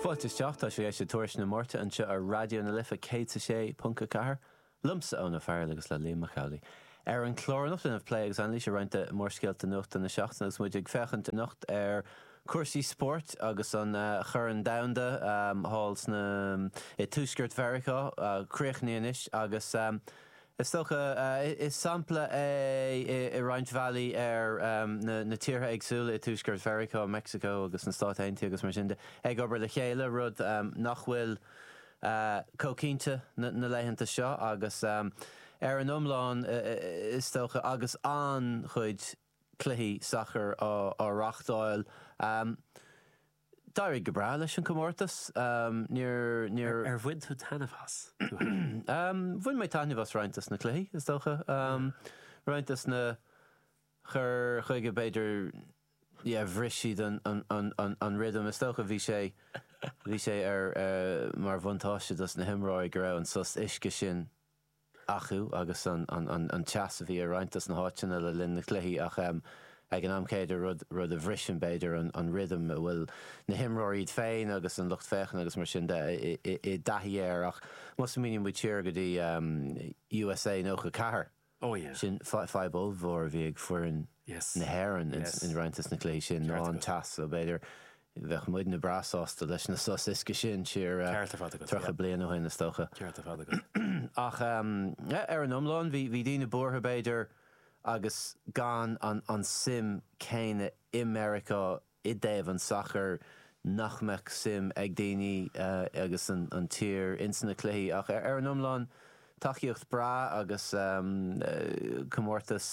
Fáilte isteach, tá sibh ag éisteacht le Tuairisc na Máirte anseo ar Raidió na Life 106.4, liomsa Eoin Ó Fearghail agus le Liam Mac Amhlaigh. Ar an chlár anocht déanamh plé agus anailís ar roinnt de mhórscéalta nuachta na seachtaine agus muid ag féachaint anocht ar chúrsaí spóirt agus an Corn Domhanda thall sna i dtuaisceart Mheiriceá críochnaithe anois agus Is dócha, is sampla é i roinnt bhealaí ar na tíortha éagsúla i dTuaisceart Mheiriceá, Meicsiceo agus na Stáit Aontaithe agus mar sin de, ag obair le chéile, rud nach bhfuil chomh cinnte na laethanta seo agus ar an iomlán, is dócha, agus an-chuid cluichí sacair á reáchtáil. D'éirigh go breá leis an chomórtas. Níor, níor. Ar bhain tú taitneamh as, tú fhéin? Bhain mé taitneamh as roinnt des na cluichí, is dócha. Roinnt des na cur chuige, b'fhéidir, yeah, bhris siad an, an, an, an, an rhythm. Is dócha bhí sé, bhí sé ar, mar bhuntáiste dos na himreoirí go raibh an sos uisce sin acu agus an teas a bhí i roinnt dos na háiteanna le linn na cluichí ach ag an am céanna rud rud a bhriseann b'fhéidir an rhythm a bhfuil na himreoirí iad féin agus an lucht féachana agus mar sin de i dtaithí air ach má smaoiníonn muid siar go dtí USA 94 Oh yeah. sin fadhb ollmhór a bhí ag foireann Yes. na hÉireann Yes. in roinnt des na cluichí sin ná Ceart an agat. teas so b'fhéidir Bheadh muidne breá sásta leis na sos uisce sin siar Ceart ar fad agat, 30 yeah. bliain ó shin, is dócha. Ceart ar fad agat. Ach ar an iomlán, bhí bhí daoine buartha, b'fhéidir, agus gan an an suim céanna i Meiriceá i dtaobh an sacair, nach mbeadh suim ag daoine agus an an tír ins na cluichí. Ach ar an iomlán, Tacaíocht breá agus comórtas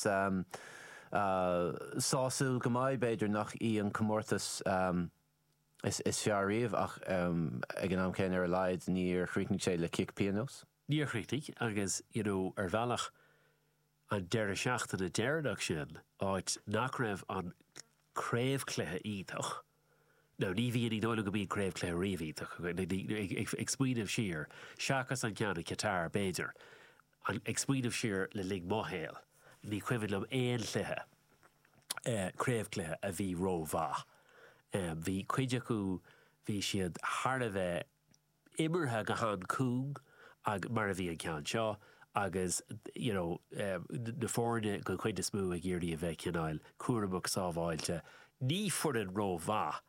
sásúil go maith. B'fhéidir nach í an comórtas is fearr riamh ach ag an am céanna ar a laghad níor chríochnaigh sé le cic pionóis. Níor chríochnaigh agus you know ar bhealach an deireadh seachtaine deireanach sin, áit nach raibh an craobhchluiche iontach, Now ní bhíonn, ní dóigh liom go mbíonn craobhchluiche riamh iontach, ag smaoineamh siar, seachas an ceann i Qatar b'fhéidir, ag smaoineamh siar le linn mo shaoil, ní cuimhin liom aon chluiche, craobhchluiche a bhí rómhaith. Bhí cuid acu, bhí siad thar a bheith, imeartha go han-cúng ag mar a bhí an ceann seo agus you know na foirne den chuid is mó ag iarraidh a bheith cineáil cúramach sábháilte. Ní foireann rómhaith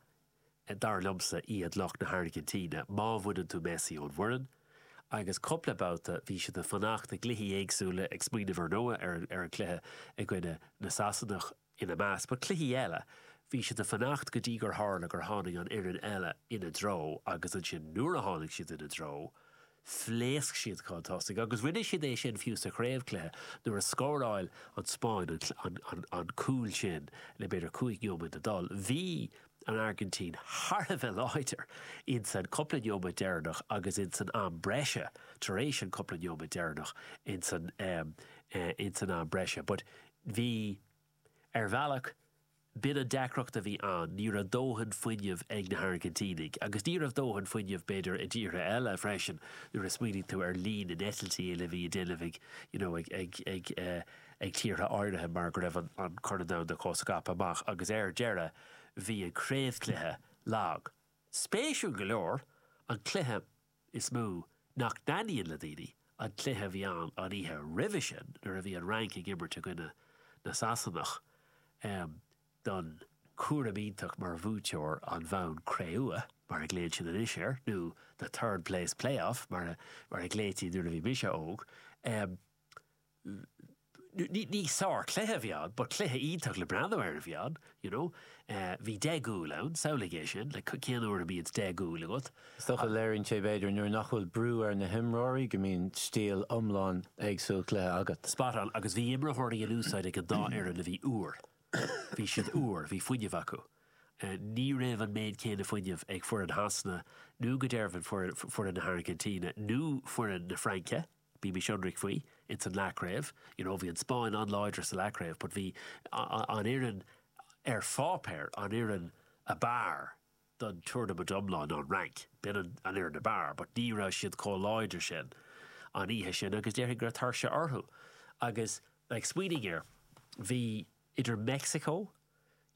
dar liomsa iad lucht na hAirgintíne má bhaineann tú Messi ón bhfoireann agus cúpla babhta bhí siad ag fanacht i gcluichí éagsúla ag smaoineamh ar ndóigh ar an gcluiche i gcoinne na Sasanach ina measc, but cluichí eile, bhí siad ag fanacht go dtí gur tharla gur tháinig an fhoireann eile ina dtreo agus ansin nuair a tháinig siad ina dtreo, phléasc siad chun tosaigh agus rinne siad é sin fiú sa chraobhchluiche nuair a scóráil an Spáinn an cúl sin le b'fhéidir 5 neomat le dul. Bhí an Airgintín thar a bheith láidir ins an cúpla neomat deireanach agus ins an am breise tar éis an cúpla neomat deireanach ins an ins an am breise but Bhí. Ar bhealach, b'in an deacracht a bhí ann, ní raibh dóthain fuinnimh ag na hAirgintínaigh. Agus ní raibh dóthain fuinnimh, b'fhéidir, i dtíortha eile freisin, nuair a smaoiníonn tú ar líon na n-eitiltí uile a bhí á déanamh ag, you know, ag, ag, ag, eh, ag tíortha áirithe mar go raibh an, an Corn Domhanda chomh scaipthe amach. Agus ar deireadh, bhí an craobhchluiche lag. Spéisiúil go leor, an cluiche. is mó nach dtaitníonn le daoine, an cluiche a bhí ann an oíche roimhe sin nuair a bhí an Fhrainc ag imirt i gcoinne na Sasanach don cúram iontach mar bhuaiteoir an bhonn cré-umha, mar a ghlaonn siad anois air, nó the third place play-off mar a ghlaoití nuair a bhí mise óg. Ní sár-chluiche a bhí ann, but cluiche iontach le breathnú air a bhí ann, you know. Bhí 10 gcúl ann, samhlaigh é sin, like cén uair a mbíonns 10 gcúl agat? Is dócha léiríonn sé b'fhéidir nuair nach bhfuil brú ar na himreoirí go mbíonn stíl iomlán éagsúil cluiche agat. Spot on, agus bhí imreoirí in úsáid ag an dá fhoireann a bhí úr. Bhí siad úr, bhí fuinneamh acu. Ní raibh an méid céanna fuinnimh ag foireann Shasana nó go deimhin foireann na hAirgintíne nó foireann na Fraince. Bímis ionraic faoi, ins an leathchraobh, you know, bhí an Spáinn an-láidir sa leathchraobh but bhí an fhoireann ar pháipéar, an fhoireann ab fhearr don tournament iomlán ná an Fhrainc. B'in an fhoireann ab fhearr but ní raibh siad chomh láidir sin an oíche sin agus déarfainn go raibh tuirse orthu. Agus, like, smaoinigh air, bhí idir Meicsiceo.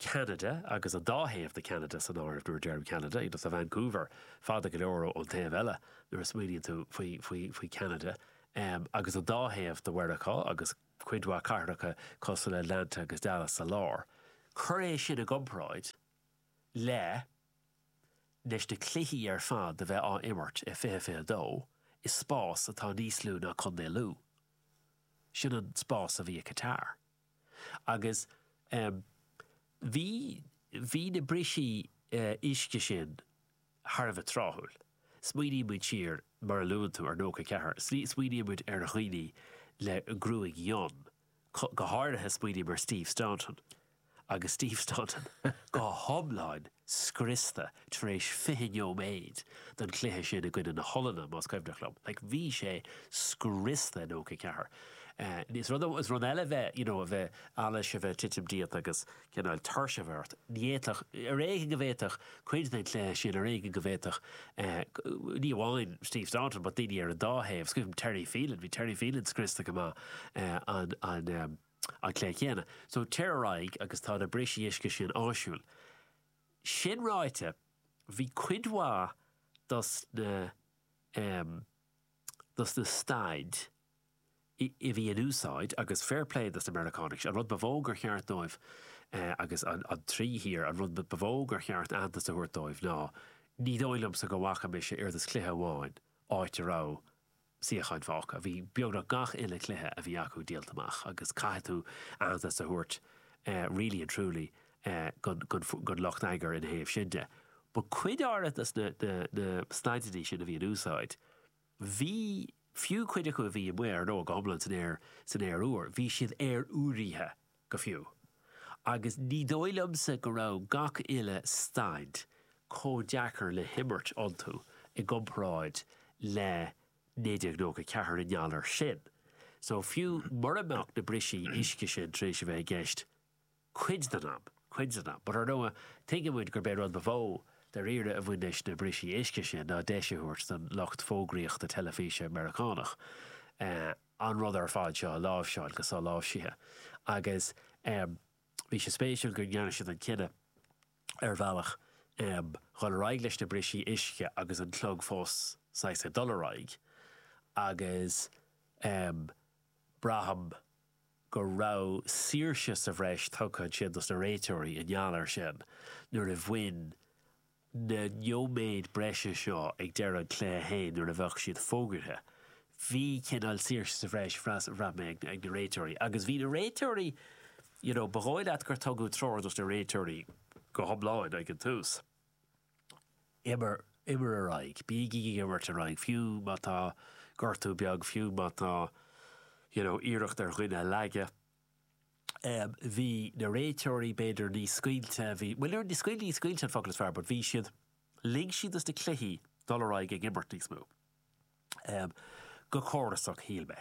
Ceanada, agus an dá thaobh de Cheanada san áireamh nuair a deirim Ceanada, you know, tá Vancouver fada go leor ón taobh eile nuair a smaoiníonn tú faoi, faoi, faoi Ceanada, agus an dá thaobh de Mheiriceá agus cuid mhaith cathracha cosúil le Atlanta agus Dallas sa lár. Cuir é sin i gcomparáid le leis na cluichí ar fad a bheith á imirt i 2022 i spás atá níos lú ná Contae Lú. Sin an spás a bhí i Qatar. Agus bhí, bhí na brisí uisce sin thar a bheith tráthúil. Smaoiníonn muid siar, mar a luann tú, ar 94, smaoiníonn muid ar dhaoine le gruaig fhionn, go háirithe smaoiním ar Steve Staunton. Agus Steve Staunton go hiomlán scriosta tar éis 20 neoiméad den chluiche sin i gcoinne na hOllainne, más cuimhneach liom. Like, bhí sé scriosta i 94. Is rud, is rud eile bheith, you know, a bheith, allas a bheith ag titim díot agus cineál tuirse a bheith ort. Ní fhéadfadh, ar éigean go bhféadfadh cuid den chluiche sin, ar éigean go bhféadfadh, ní amháin Steve Staunton, but daoine ar an dá thaobh. Is cuimhin liom Terry Phelan, bhí Terry Phelan scriosta go maith an, an, an cluiche céanna. So, téir ar aghaidh agus tá na brisí uisce sin áisiúil. Sin ráite, bhí cuid mhaith dos na, dos na staid a bhí in úsáid, agus fair play dos na Meiriceánaigh, an rud ba mhó gur cheart dóibh, agus an trí thír, an rud ba mhó gur cheart aitheantas a thabhairt dóibh ná, ní dóigh liomsa go bhfaca mise oiread is cluiche amháin áit a raibh suíocháin fágtha. Bhí beagnach gach uile cluiche a bhí acu díolta amach agus caithfidh tú aitheantas a thabhairt really and truly don lucht eagair ina thaobh sin de. But cuid áirithe dos na staideanna sin a bhí in úsáid, bhí, fiú cuid acu a bhí amuigh ar ndóigh go hiomlán san aer, san aer úr, bhí siad aerfhuaraithe go fiú. Agus ní dóigh liomsa go raibh gach uile staid chomh deacair le himirt iontu i gcomparáid le 1994 i ngeall air sin. So fiú mura mbeadh na brisí uisce sin tar éis a bheith i gceist cuid den am, cuid den am. But ar ndóigh, tuigeann muid gurb é rud ba mhó dáiríre a bhain leis na brisí uisce sin ná deis a thabhairt don lucht fógraíochta teilifíse Meiriceánach an rud ar fad seo a láimhseáil go soláimhsithe. Agus bhí sé spéisiúil go ndearna siad an cinneadh ar bhealach dhul ar aghaidh leis na brisí uisce agus an clog fós saghas ag dul ar aghaidh agus braithim go raibh saoirse sa bhreis tugtha ansin dos na réiteoirí i ngeall air sin nuair a bhain na nóiméid breise seo ag deireadh an chluiche féin nuair a bheadh siad fógartha. Bhí cineál saoirse sa bhreis, bhraith mé, ag na réiteoirí. Agus bhí na réiteoirí, you know, ba dhóigh leat gur tugadh treoir dos na réiteoirí go hiomlán ag an tús. Imir, imir ar aghaidh. Bígí ag imirt ar aghaidh, fiú má tá gortú beag, fiú má tá, you know, iarracht ar dhuine a leagadh. Bhí na réiteoirí b'fhéidir níos scaoilte, bhí, bhuel ní scaoilte, ní scaoilte an focal is fearr, but bhí siad, lig siad dos na cluichí dul ar aghaidh ag imirt níos mó. Go córasach, shíl mé.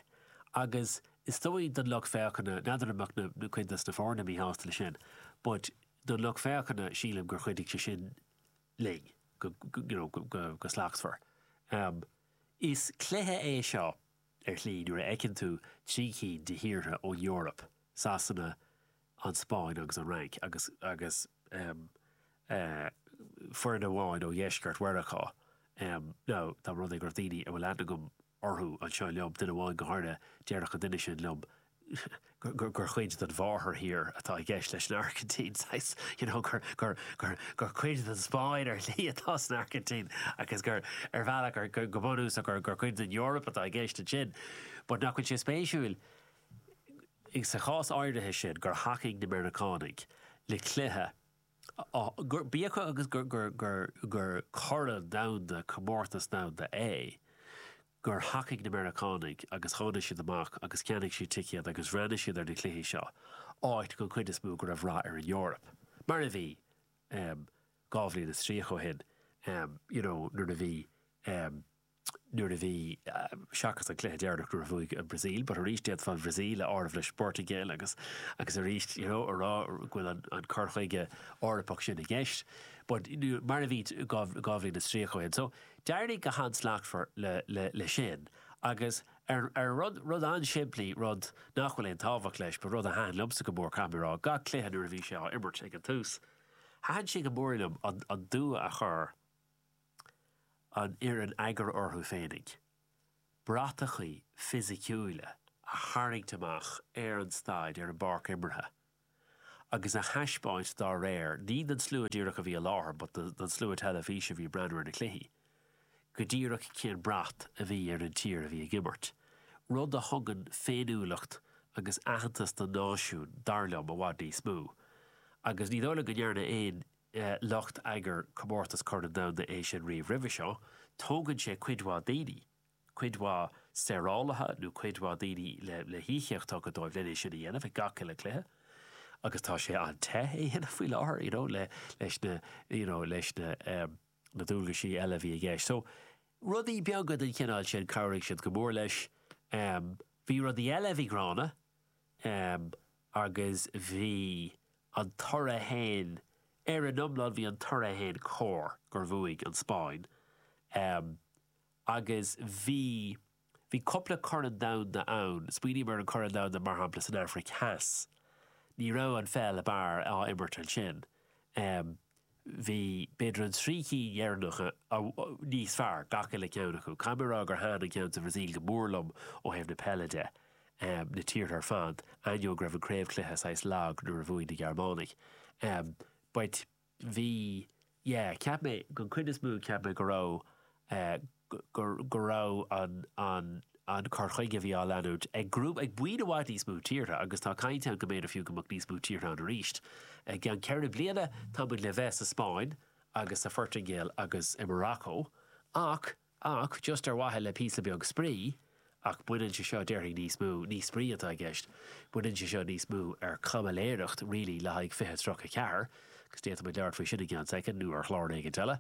Agus is dóigh don lucht féachana, n'fheadar an mbeadh na, cuid dos na foirne míshásta leis sin, but don lucht féachana sílim gur chuidigh sé sin linn go, you know, go, go slachtmhar. Is cluiche é seo ar shlí nuair a fheiceann tú 3 cinn de thíortha ón Eoraip, Sasana, an Spáinn agus an Fhrainc, agus agus foireann amháin ó dheisceart Mheiriceá. Now, dá mba rud é go raibh daoine a bhfuil aithne agam orthu anseo liom, duine amháin go háirithe, déarfadh an duine sin liom gur chuid den mháthairthír atá i gceist leis an Airgintín, saghas, you know, gur, gur, gur, gur cuid den Spáinn ar shlí atá san Airgintín agus gur, ar bhealach, gur, gur, go bunúsach, gur, gur cuid den Eoraip atá i gceist ansin. But nach bhfuil sé spéisiúil, sa chás áirithe sin, gur thacaigh na Meiriceánaigh le cluiche, gur, bíodh agus gur, gur, gur, gur corn domhanda, comórtas domhanda é, gur thacaigh na Meiriceánaigh agus tháinig siad amach agus cheannaigh siad ticéad agus bhreathnaigh siad ar na cluichí seo, áit den chuid is mó go raibh rath ar an Eoraip, mar a bhí 20 bliain is 30 ó shin, you know, nuair a bhí, nuair a bhí, seachas an cluiche deireanach nuair a bhuaigh an Bhrasaíl, but arís d'fhéadfá an Bhrasaíl a áireamh leis an bPortaingéil agus, agus arís, you know, a rá go bhfuil an, an cur chuige Eorpach sin i gceist, but mar a bhí 20 bliain is 30 ó shin. So, D'éirigh go han-slachtmhar le sin agus. Ar, ar rud, rud an-simplí, rud nach bhfuil aon tábhacht leis, but rud a thaitin liomsa go mór, caithfidh mé a rá, gach cluiche nuair a bhí sé á imirt ag an tús, thaitin sé go mór liom an, an dua a chuir an fhoireann eagair orthu féinig, bratachaí fisiciúla a tharraingt amach ar an staid, ar an bpáirc imeartha. agus a thaispeáint dá réir, ní don slua díreach a bhí i láthair but don slua teilifíse a bhí ag breathnú ar na cluichí, go díreach cén brat a bhí ar an tír a bhí ag imirt. Rud a thugann féiniúlacht agus aitheantas don náisiún, dar liom, i bhfad níos mó. Agus ní dóigh liom go ndearna aon lucht eagair comórtas Corn an Domhanda é sin riamh roimhe seo. Tógann sé cuid mhaith daoine. cuid mhaith saorálaithe nó cuid mhaith daoine le híocaíocht tugtha dóibh len é sin a dhéanamh ag gach uile cluiche agus tá sé an-te é a dhéanamh faoi láthair you know le leis na you know leis na na dualgaisí eile a bhí i gceist. So rudaí beaga den chineál sin chabhraigh siad go mór leis. Bhí rudaí eile a bhí gránna agus bhí an toradh fhéin ar an iomlán bhí an toradh fhéin cóir gur bhuaigh an Spáinn. Agus bhí, bhí cupla Corn Domhanda ann, smaoiním ar an Corn Domhanda mar shampla san Afraic Theas, ní raibh an pheil ab fhearr á imirt ansin. Bhí, b'fhéidir an trí cinn dheireanacha níos fearr, gach uile ceann acu. Caithfidh mé a rá gur thaitin an ceann sa Bhrasaíl go mór liom ó thaobh na peile de, na tíortha ar fad, ainneoin go raibh an craobhchluiche saghas lag nuair a bhuaigh na Gearmánaigh. But. Bhí, yeah, cheap mé, don chuid is mó, cheap mé go raibh, eh, go, go raibh an, an, an cur chuige a bhí á leanúint ag grúpa, ag buíon i bhfad níos mó tíortha agus tá caint ann go mb'fhéidir fiú go mbeadh níos mó tíortha ann arís. I gceann ceithre bliana tá muid le bheith sa Spáinn agus sa Phortaingéil agus i Morocco ach, Ach, just ar mhaithe le píosa beag spraoi, ach baineann sé seo, déarfainn, níos mó, ní spraoi atá i gceist, baineann sé seo níos mó ar caimiléireacht really le haghaidh 2034, agus d'fhéadfadh muid labhairt faoi sin i gceann soicind nó ar chlár éigint eile,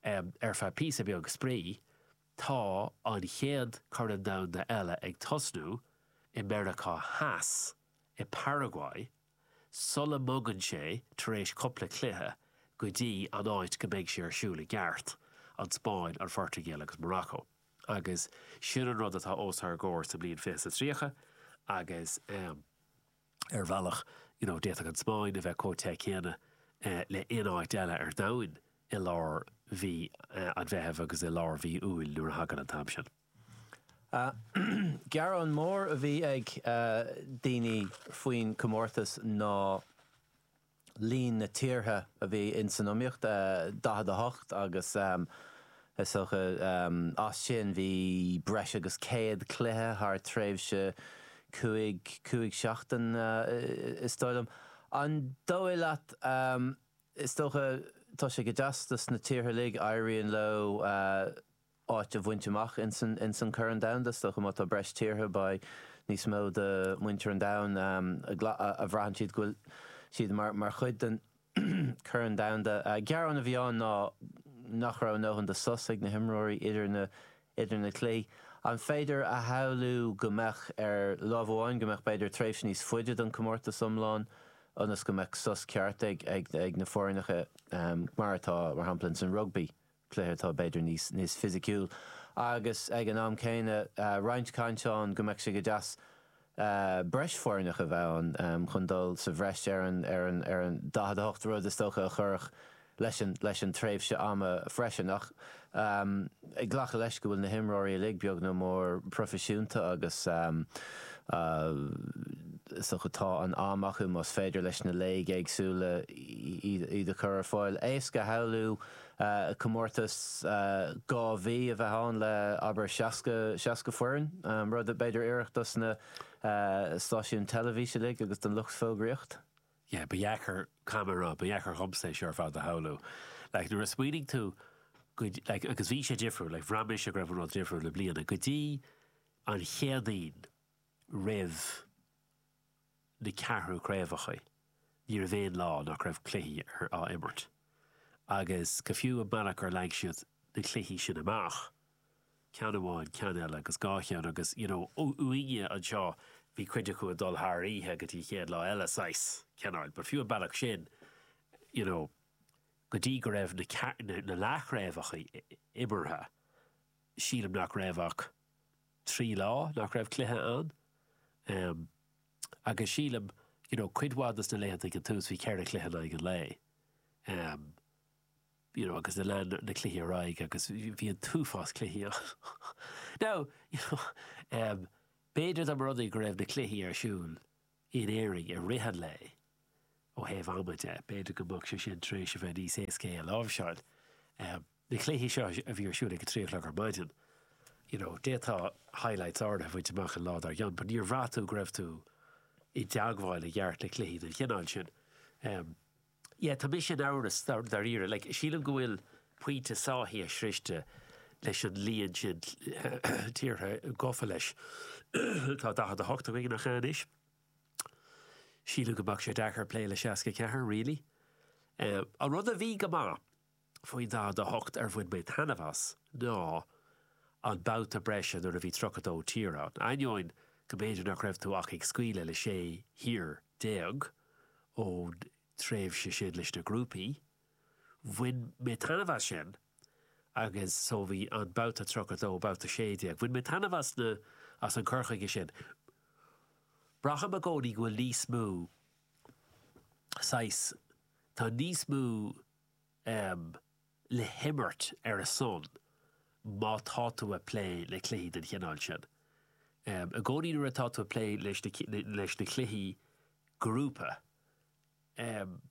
ar feadh píosa beag spraoi, tá an chéad Corn Domhanda eile ag tosnú i Meiriceá Theas, i Paraguay, sula mbogann sé, tar éis cupla cluiche, go dtí an áit go mbeidh sé ar siúl i gceart, an Spáinn, an Phortaingéil agus Morocco. Agus sin an rud atá os ár gcomhair sa mbliain 2030 agus ar bhealach, you know, d'fhéadfadh an Spáinn a bheith chomh te céanna le aon áit eile ar domhan i lár mhí an Mheithimh agus i lár mhí Iúil nuair a thagann an t-am sin. Gearán mór a bhí ag daoine faoin chomórtas ná líon na tíortha a bhí ins an iomaíocht, 48, agus is dócha as sin bhí breis agus 100 cluiche thar tréimhse cúig, cúig seachtain is dóigh liom. An dóigh leat, is dócha, tá sé go deas dos na tíortha uilig, éiríonn leo, áit a bhaint amach ins an Chorn Domhanda. Is dócha má tá breis tíortha beidh níos mó de mhuintir an domhain a bhraitheann siad go bhfuil siad mar chuid den Chorn Domhanda. Gearán a bhí ann ná nach raibh a ndóthain de sos ag na himreoirí idir na idir na cluichí. An féidir a shamhlú go mbeadh ar lámh amháin go mbeadh b'fhéidir tréimhse níos faide don chomórtas iomlán ionas go mbeadh sos ceart ag ag na foirneacha mar atá mar shampla ins an rugbaí? cluiche atá b'fhéidir níos níos fisiciúil agus ag an am céanna roinnt caint ann go mbeadh sé go deas breis foirneacha a bheith ann chun dul sa bhreis ar an ar an ar an 48 rud is dócha a chuirfeadh leis an leis an tréimhse ama freisin ach ag glacadh leis go bhfuil na himreoirí uilig beag nó mór proifisiúnta agus is dócha tá an am acu más féidir leis na léig éagsúla iad a chur ar fáil. Éasca a shamhlú comórtas 2 mhí a bheith ann le, abair, 60, 60 foireann, rud a b'fhéidir a oirfeadh dos na stáisiúin teilifíse uilig agus don lucht fógraíocht. Yeah, ba dheacair, caithfidh mé a rá, ba dheacair dhomsa é seo ar fad a shamhlú. Like, nuair a smaoinigh tú go, like, agus bhí sé difriúil, like, bhraith mise go raibh an rud difriúil i mbliana, go dtí an Chéadaoin roimh na ceathrú craobhacha, ní raibh aon lá nach raibh cluichí ar á imirt. Agus go fiú an bealach gur leag siad na cluichí sin amach, ceann amháin, ceann eile agus dhá cheann agus, you know, uainne anseo bhí cuid acu ag dul thar oíche go dtí an chéad lá eile, saghas, cineáil. But fiú an bealach sin, you know, go dtí go raibh na na leathchraobhacha imeartha, sílim nach raibh ach. 3 lá nach raibh cluiche ann. Em, agus sílim, you know, cuid mhaith dos na laethanta ag an tús bhí 4 chluiche in aghaidh an lae. Em, you know, agus lean na cluichí ar aghaidh agus bhí an t-uafás cluichí ann. Now, you know, em, b'fhéidir dá mba rud é go raibh na cluichí ar siúl in Éirinn i rith an lae, ó thaobh ama de, b'fhéidir go mbeadh sé sin tar éis a bheith níos éasca é a láimhseáil. Em, na cluichí seo a bhí ar siúl ag a 3 a chlog ar maidin, you know, d'fhéadfá highlights áirithe a bhaint amach an lá dár gcionn, but níor bhraith tú go raibh tú i dteagmháil i gceart le cluichí den chineál sin. Em, Yeah, tá mise in amhras dáiríre. Like, sílim go bhfuil pointe sáithithe sroichte leis an líon sin tíortha gafa leis. Tá 48 againn, nach ea anois? Sílim go mbeadh sé deacair plé le 64, really. An rud a bhí go maith faoin 48 ar bhain mé taitneamh as ná an babhta breise nuair a bhí 32 tír ann. Ainneoin go mb'fhéidir nach raibh tú ach ag scaoileadh le 16 thír ón tréimhse sin leis na grúpaí, bhain mé taitneamh as sin agus so bhí an babhta 32, babhta 16, bhain mé taitneamh as na, as an cur chuige sin. Braithim i gcónaí go bhfuil níos mó saghas, tá níos mó em le himirt ar a son má tá tú ag plé le cluichí den chineál sin. Em i gcónaí nuair atá tú ag plé leis na leis na cluichí grúpa, em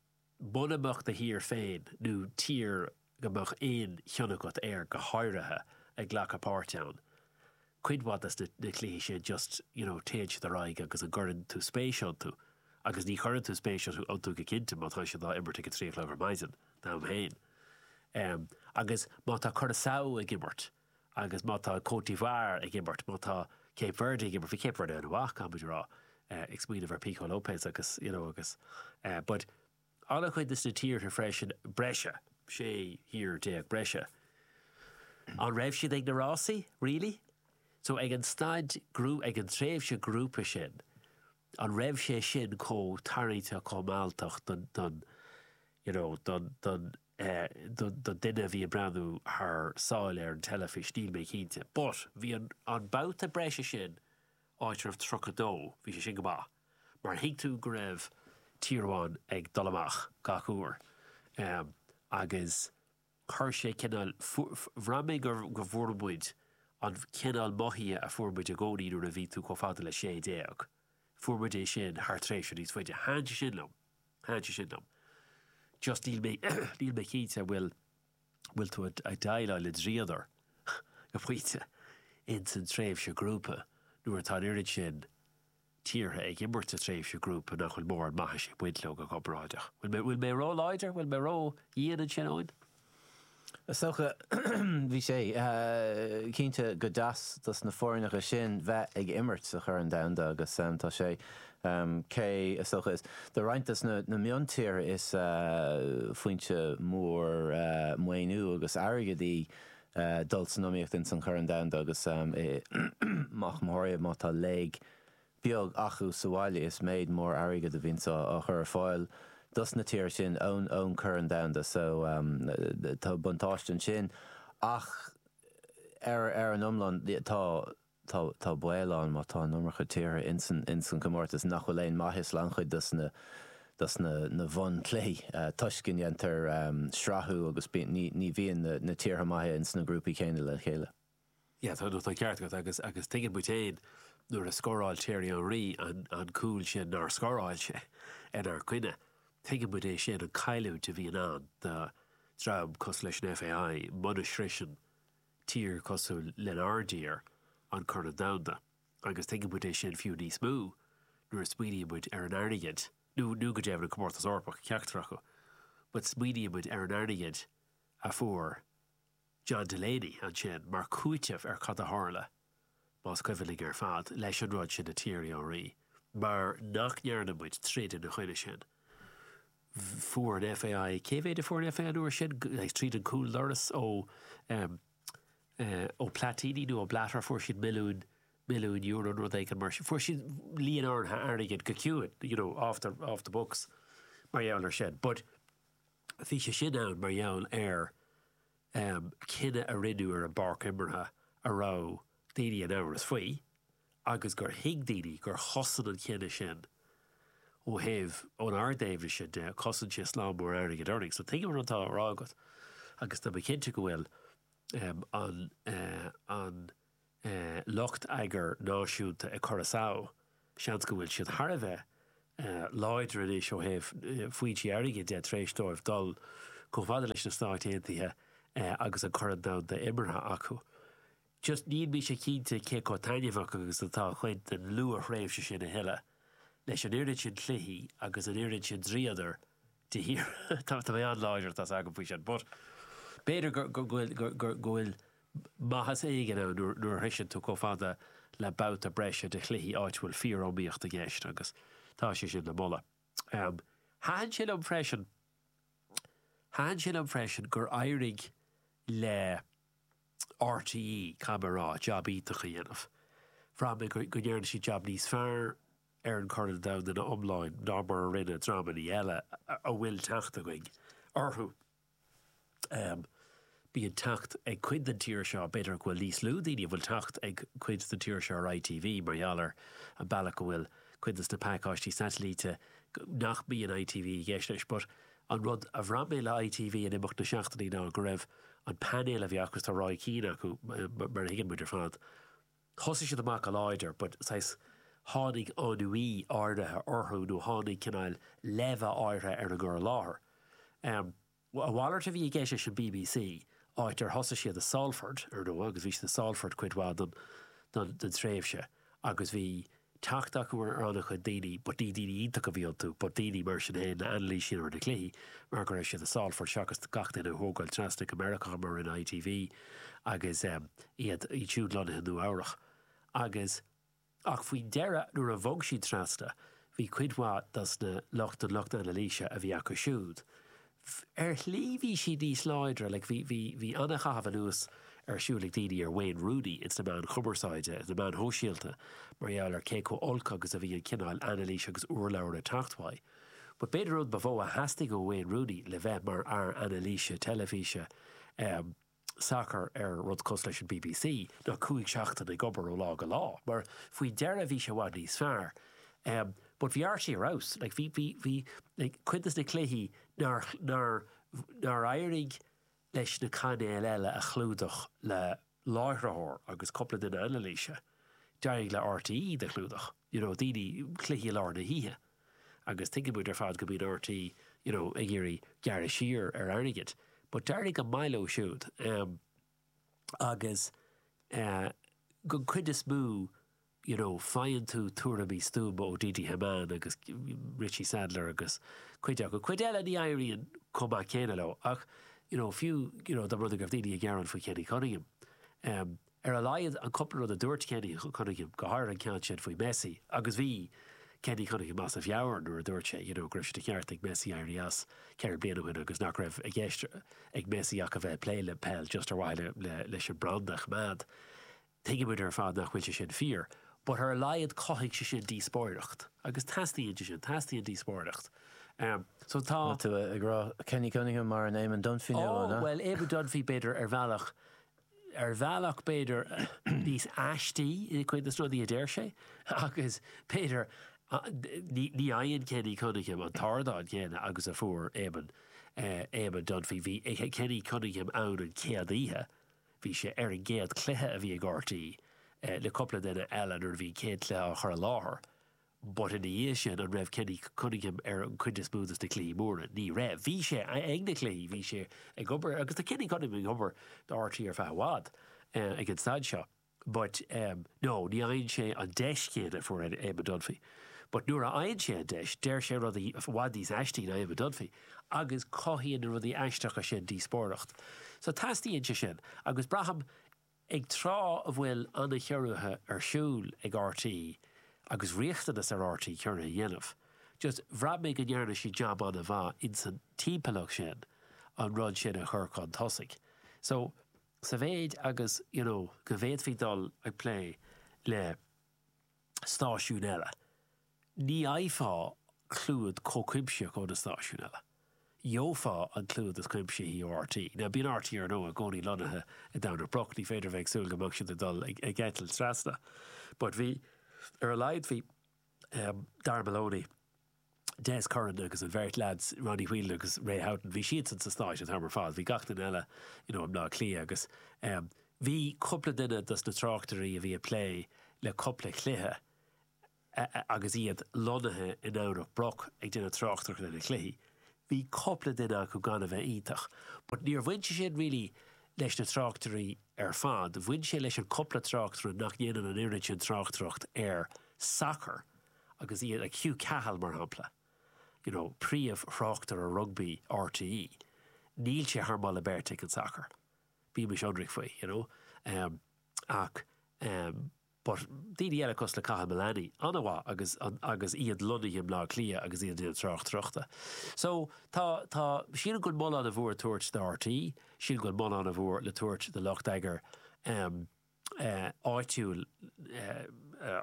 muna mbeadh do thír féin nó tír go mbeadh aon chion agat air go háirithe ag glacadh páirt ann, cuid mhaith des na na cluichí sin just you know téann siad ar aghaidh agus an gcuireann tú spéis iontu agus ní chuireann tú spéis iontu go cinnte má tá siad á imirt ag a 3 a chlog ar maidin d'am féin. Em agus má tá Curaçao ag imirt agus má tá Côte d'Ivoire ag imirt, má tá Cape Verde ag imirt, bhí Cape Verde an-mhaith caithfidh muid a rá, eh ag smaoineamh ar Pico Lopes agus you know agus eh but An-chuid de na tíortha freisin, breise, 16 thír breise. An raibh siad ag na rásaí? Really? So ag an staid ag an tréimhse grúpa sin, an raibh sé sin chomh tarraingteach, chomh mealltach don, don, you know, don, don, eh, don, don duine a bhí ag breathnú thar sáile ar an teilifís? Níl mé cinnte. But bhí an, an babhta breise sin, áit a raibh 32, bhí sé sin go maith. Mar thuig tú go raibh tír amháin ag dul amach gach uair agus chuir sé cineál, bhraith mé go bhfuair muid an cineál mothaithe a fuair muid i gcónaí nuair a bhí tú chomh fada le 16, fuair muid é sin thar tréimhse níos faide. Thaitin sé sin liom, thaitin sé sin liom. Just níl mé, níl mé cinnte an bhfuil, bhfuil tú ag déileáil le dríodar go pointe ins an tréimhse grúpa nuair atá an oiread sin tíortha ag imirt sa tréimhse grúpa nach bhfuil mórán maitheasa ag baint leo go corparáideach. Bhfuil mé, bhfuil mé ró-láidir? Bhfuil mé ró-dhian ansin, Eoin? Is dócha, bhí sé cinnte go deas dos na foirneacha sin bheith ag imirt sa Chorn Domhanda agus tá sé, cé is dócha, is do roinnt dos na miontíortha is foinse mór maoiniú agus airgid í dul san iomaíocht ins an Chorn Domhanda agus ach go háirithe má tá léig beag acu sa bhaile is méid mór airgid a bhíonns á chur ar fáil dos na tíortha sin ón ón Chorn Domhanda so tá buntáiste ansin ach ar ar an iomlán tá tá tá baol ann má tá an iomarca tíortha ins an ins an chomórtas nach bhfuil aon maitheas le an-chuid dos na dos na na bhunchluichí toisc go ndéantar srathú agus bíonn ní ní bhíonn na na tíortha maithe ins na grúpaí céanna le chéile. Yeah, tá, tá an ceart agat agus, agus tuigeann muid féin nuair a scóráil Thierry Henry an, an cúl sin nár scóráil sé inár gcoinne, tuigeann muid é sin, an cailliúint a bhíonn ann do dhream cosúil leis an FAI muna sroiseann tír cosúil lenár dtír an Corn Domhanda agus tuigeann muid é sin fiú níos mó nuair a smaoiníonn muid ar an airgead, nó, nó go deimhin an Comórtas Eorpach, ceachtar acu, but smaoiníonn muid ar an airgead a fuair John Delaney ansin mar chúiteamh ar cad a tharla, más cuimhin linn ar fad, leis an rud sin le Thierry Henry, mar nach ndearna muid troid ina choinne sin. Fuair an FAI, cé mhéad a fuair an FAI an uair sin, tríd an cúldoras ó ó Platini nó ó Blatter, fuair siad milliún, milliún euro nó rud éigin mar sin. Fuair siad líon áirithe airgid go ciúin, you know, off the, off the books mar gheall ar sin. But bhí sé sin ann mar gheall ar cinneadh a rinneadh ar an bpáirc imeartha a raibh daoine in amhras faoi agus gur thuig daoine gur chosain an cinneadh sin ó thaobh, ón ár dtaobh sin de, chosain sé slám mór airgid orainn. So tuigim an rud atá á rá agat agus tá mé cinnte go bhfuil an, an lucht eagair náisiúnta ag cur a samh, seans go bhfuil siad thar a bheith láidir anois ó thaobh foinsí airgid de tar éis dóibh dul chomh fada leis na Stáit Aontaithe agus an Corn Domhanda imeartha acu. Just níl mise cinnte cé chomh taitneamhach agus atá cuid den luath-thréimhse sin a thuilleadh, leis an oiread sin cluichí agus an oiread sin dríodair de shíor. Tá mé an-láidir, tá's agam faoi sin, but b'fhéidir go bhfuil maitheas éigin ann nuair a shroiseann tú chomh fada le babhta breise de chluichí áit a bhfuil fíor-iomaíocht i gceist agus tá sé sin le moladh. Thaitin sé liom freisin, thaitin sé liom freisin gur éirigh le RTÉ, caithfidh mé a rá, jab iontach a dhéanamh. Bhraith mé go ndearna siad jab níos fearr ar an Chorn Domhanda ina iomláine ná mar a rinne dreamanna eile a bhfuil teacht againn orthu. Bíonn teacht ag cuid den tír seo, b'fhéidir go bhfuil níos lú daoine a bhfuil teacht ag cuid den tír seo ar ITV mar gheall ar an bealach go bhfuil cuid de na pacáistí satailíte nach mbíonn ITV i gceist leis. But an rud a bhraith mé le ITV in imeacht na seachtainí ná go raibh an painéal a bhí acu, tá Roy Keane acu mar a thuigeann muid ar fad, thosaigh siad amach go láidir but saghas tháinig ennui áirithe orthu nó tháinig cineál leimhe áirithe ar an gcur i láthair. A mhalairt a bhí i gceist leis an bbc, áit ar thosaigh siad i Salford, ar ndóigh, agus bhí siad i Salford cuid mhaith den tréimhse agus bhí teacht acu ar an-chuid daoine, but ní daoine iontacha a bhí iontu, but daoine mar sin féin le anailís a dhéanamh ar na cluichí mar go raibh siad i Salford seachas gach duine a thógáil trasna go Meiriceá mar a rinne ITV agus iad siúd lonnaithe i Nua Eabhrach. Agus. Ach faoin deireadh, nuair a bhog siad trasna, bhí cuid mhaith dos na lucht, den lucht anailíse a bhí acu siúd, ar shlí bhí siad níos láidre, like bhí, bhí, bhí an-chaitheamh anuas ar siúl ag daoine ar Wayne Rooney ins na meáin chumarsáide, ins na meáin shóisialta, mar gheall ar cé chomh olc agus a bhí an cineál anailís agus urlabhra ag teacht uaidh. But b'fhéidir an rud ba mhó a theastaigh ó Wayne Rooney le bheith mar fhear anailíse teilifíse, eh, sacair ar rud cosúil leis an bbc ná 5 seachtain ag obair ó lá go lá mar faoi dheireadh bhí sé i bhfad níos fearr. Um, but bhí RTÉ ar fheabhas, like bhí, bhí, bhí, like cuid des na cluichí nár, nár, nár éirigh leis na cainéil eile a chlúdach le láithreoir agus cúpla duine anailíse, d'éirigh le RTÉ iad a chlúdach, you know, daoine, cluichí i lár na hoíche. Agus tuigeann muid ar fad go mbíonn RTÉ, you know, ag iarraidh gearradh siar ar airgead. But d'éirigh go maith leo siúd. Um, agus eh, den chuid is mó, you know, faigheann tú tuairimí stuama ó Didi Hamann agus Richie Sadlier agus cuid acu. Cuid eile ní éiríonn chomh maith céanna leo ach, you know, fiú, you know, dá mba rud é go raibh daoine ag gearán faoi Kenny Cunningham. Um, Ar a laghad, an cúpla rud a dúirt Kenny Cunningham, go háirithe an ceann sin faoi Messi, agus bhí Kenny Cunningham as a mheabhair nuair a dúirt sé, you know, go raibh sé de cheart ag Messi éirí as 4 bliana ó shin agus nach raibh i gceist ag Messi ach a bheith ag plé le peil just ar mhaithe le leis an branda a choimeád. Tuigimid ar fad nach bhfuil sé sin fíor, but ar a laghad chothaigh sé sin díospóireacht agus teastaíonn sé sin, teastaíonn díospóireacht. So tá. Tá tú ag rá Kenny Cunningham mar an Eamon Dunphy nua, an ea? Oh, bhuel, Eamon Dunphy b'fhéidir ar bhealach ar bhealach b'fhéidir níos aistí i gcuid de na rudaí a deir sé agus b'fhéidir ní fhaigheann Kenny Cunningham an t-ardán céanna agus a fuair Eamon Eamon Dunphy. Bhí Kenny Cunningham ann an chéad oíche, bhí sé ar an gcéad chluiche a bhí ag RTÉ le cúpla duine eile nuair a bhí an chéad chluiche á chur i láthair. But ina dhiaidh sin, an raibh Kenny Cunningham ar an chuid is mó de na cluichí móra? Ní raibh. Bhí sé ag na cluichí, bhí sé ag obair, agus tá Kenny Cunningham ag obair do RTÉ ar feadh i bhfad ag an staid seo. But no, ní fhaigheann sé an deis chéanna a fuair Eamon Dunphy. But nuair a fhaigheann sé an deis, deir sé rudaí i bhfad níos aistí ná Eamon Dunphy agus cothaíonn na rudaí aisteacha sin díospóireacht. So teastaíonn sé sin agus braithim Ag tráth a bhfuil an-chiorruithe ar siúl ag RTÉ agus riachtanas ar RTÉ ciorruithe a dhéanamh, just bhraith mé go ndearna siad jab an-mhaith ins an timpeallacht sin an rud sin a chur chun tosaigh. So, sa mhéid agus, you know, go bhféadfaí dul ag plé le stáisiúin eile, ní fhaighfeá clúdach chomh cuimsitheach ó na stáisiúin eile. Gheofá an clúdach cuimsithí ó RTÉ. Now bíonn RTÉ ar ndóigh i gcónaí lonnaithe i nDomhnach Broc, ní féidir a bheith ag súil go mbeadh siad ag dul ag eitilt trasna. But bhí, ar a laghad bhí Darragh Maloney, Des Curran agus an bheirt leaids, Ronnie Whelan agus Ray Houghton, bhí siadsan sa Stáit an t-am ar fad, bhí gach duine eile you know i mBleá Cliath agus bhí cúpla duine dos na tráchtairí a bhí ag plé le cúpla cluiche agus iad lonnaithe i nDomhnach Broc ag déanamh tráchtaireacht ar na cluichí. Bhí cúpla duine acu gan a bheith iontach. But níor bhain sé sin really leis na tráchtairí ar fad, bhain sé leis an cúpla tráchtaire nach ndéanann an oiread sin tráchtaireacht ar sacar agus iad, like Hugh Cahill mar shampla, you know, príomh-thráchtaire rugbaí RTÉ, níl sé thar moladh beirte ag an sacar. Bímis ionraic faoi, you know. Ach. But daoine eile cosúil le Cathal Mullany, an-mhaith agus agus iad lonnaithe i mBleá Cliath agus iad ag déanamh tráchtaireachta. So tá, tá, sílim go bhfuil moladh an-mhór le tabhairt do RTÉ, sílim go bhfuil moladh an-mhór le tabhairt do lucht eagair em eh áitiúil eh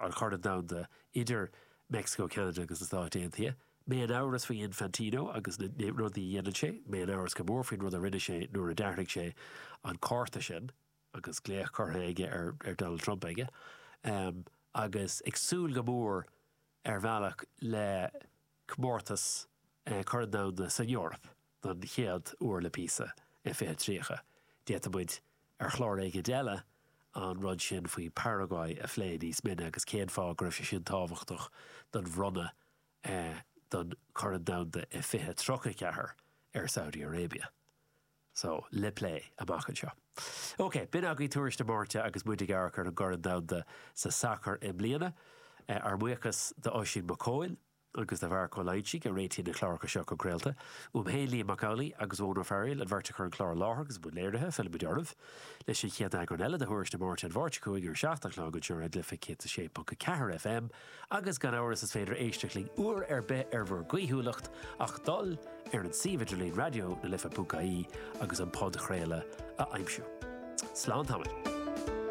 an Chorn Domhanda idir Meicsiceo, Ceanada agus na Stáit Aontaithe. Mé in amhras faoi Infantino agus na rudaí a dhéanann sé, mé in amhras go mór faoin rud a rinne sé nuair a d'athraigh sé an cárta sin. agus glaoch curtha aige ar Donald Trump aige, agus ag súil go mór ar bhealach le comórtas Corn Domhanda san Eoraip don chéad uair le píosa i 2030. D'fhéadfadh muid ar chlár éigin eile an rud sin faoi Paraguay a phlé níos mine agus cén fáth go raibh sé sin tábhachtach don bhronnadh don Chorn Domhanda i 2034 ar Saudi Arabia. So, le plé amach anseo. Ok, b'in agaibh Tuairisc na Máirte agus muid ag amharc ar an gCorn Domhanda sa sacar i mbliana. Ár mbuíochas d'Oisín Mac Cóil agus do Mharc Ó Loingsigh a réitíonn na cláracha seo chun craolta. Uaim féin, Liam Mac Amhlaigh agus Eoin Ó Fearghail, an bheirt a chuir an clár i láthair agus i mbun léirithe, fillfimid oraibh leis an chéad eagrán eile de Thuairisc na Máirte an Mháirt seo chugainn ar a 7 a chlog anseo ar Raidió na Life 106.4 FM agus gan amhras is féidir éisteacht linn uair ar bith ar bhur gcaoithiúlacht ach dul ar an suíomh idirlín raidió na life.ie agus an podchraoladh a aimsiú. Slán tamaill.